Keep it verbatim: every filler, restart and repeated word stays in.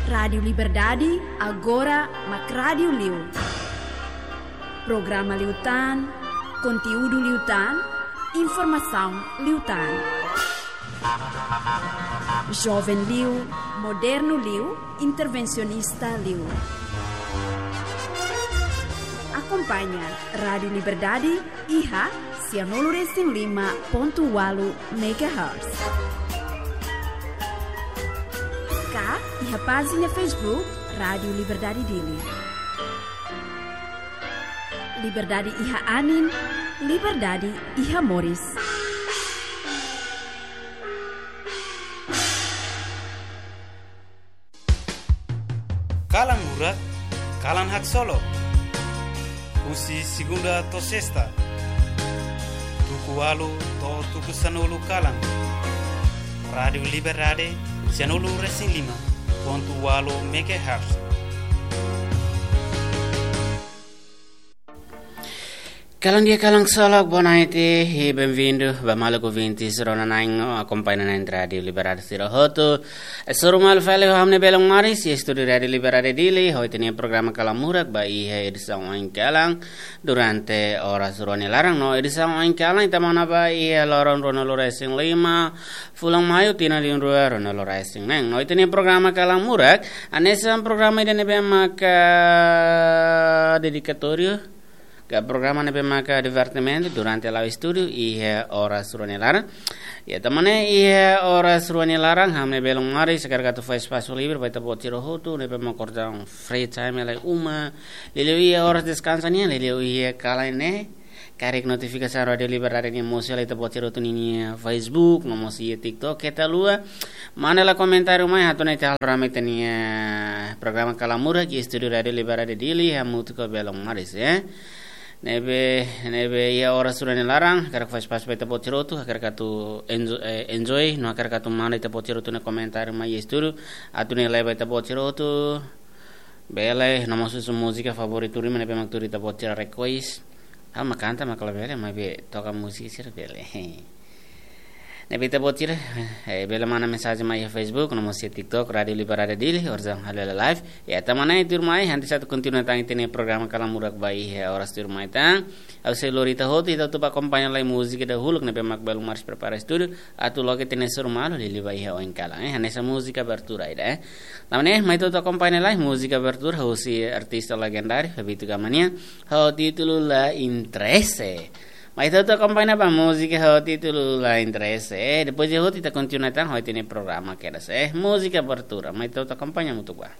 Rádiu Liberdade, agora mak rádiu liu. Programa liután, konteúdu liután, informasaun liután. Joven liu, modernu liu, intervensionista liu. Akompaña Rádiu Liberdade iha sianulu resin lima pontu ualu megahertz. Ka iha pájina Facebook Rádiu Liberdade Dili. Liberdade iha anin, liberdade iha moris. Kalan Murak, kalan haksolok. Husi segunda to'o sesta, tuku ualu to'o tuku sanulu kalan. Rádiu Liberdade, sianulu resin lima pontu ualu megahertz. Kalan di'ak, kalan haksolok, boa noite e bem-vindo ba maluk ouvintes rona-na'in no akompaña na'in Rádiu Liberdade sira hotu. Hasoru malu fali ho ha'u-nia belun moris iha estúdiu Rádiu Liberdade Dili, ho ita-nia programa Kalan Murak ba iha edisaun oinkalan durante oras rua nia laran. No edisaun oinkalan ita monu ba iha loron ruanulu resin lima fulan Maiu tinan rihun rua ruanulu resin neen. No ita-nia programa Kalan Murak hanesan programa ida ne'ebé maka dedikatóriu, ka programa ne'ebé maka divertimentu durante la'o estúdiu iha oras rua nia laran. Ya, tanba ne'e iha oras rua nia laran, ha'u-nia belun moris hakarak atu fó espasu livre ba ita-boot sira hotu ne'ebé maka orsida free time iha uma, liuliu iha oras deskansa nian, liuliu iha kalan ne'e. Karik notifikasaun Rádiu Liberdade nian mosu hela iha ita-boot sira hotu ninia Facebook, no mós iha TikTok, keta haluha manda hela komentáriu mai, atu nune'e ita halo rame ita-nia programa Kalan Murak iha estúdiu Rádiu Liberdade Dili, hamutuk ho belun moris, eh. Ne'ebé, ne'ebé iha oras rua nia laran, hakarak fó espasu ba ita-boot sira hotu, hakarak atu enjo-, eh, enjoy, no hakarak atu manda ita-boot sira hotu nia komentáriu mai iha estúdiu, atu nune'e leba ita-boot sira hotu, bele, no mós husu múzika favoritu ruma ne'ebé mak tuir ita-boot sira request. Ha'u mak kanta mak labele, maibé toka múzika sira bele. Ne'ebé ita-boot sira, eh, bele manda mensajen mai iha Facebook, no mós iha TikTok, Rádiu Liberdade Dili, orsida halo hela live. Ya, tanba ne'e tuirmai, antes atu kontinua tan ita-nia programa Kalan Murak ba iha oras tuirmai tan. Ha'u sei lori ita hotu, ita hotu bá akompaña lai múzika dahuluk ne'ebé mak belun moris prepara estúdiu, atu loke ita-nia hasoru malu liuliu ba iha oinkalan, eh, hanesan múzika abertura ida, eh. Tanba ne'e, mai ita hotu akompaña lai múzika abertura husi artista legendáriu, Bebito Gama nian, ho títulu La Interese. Mai ita hotu akompaña ba múzika ho títulu La Interese. Eh, depois de hotu ita kontinua tan ho ita-nia programa kedas, eh. Múzika abertura, mai ita hotu akompaña hamutuk bá.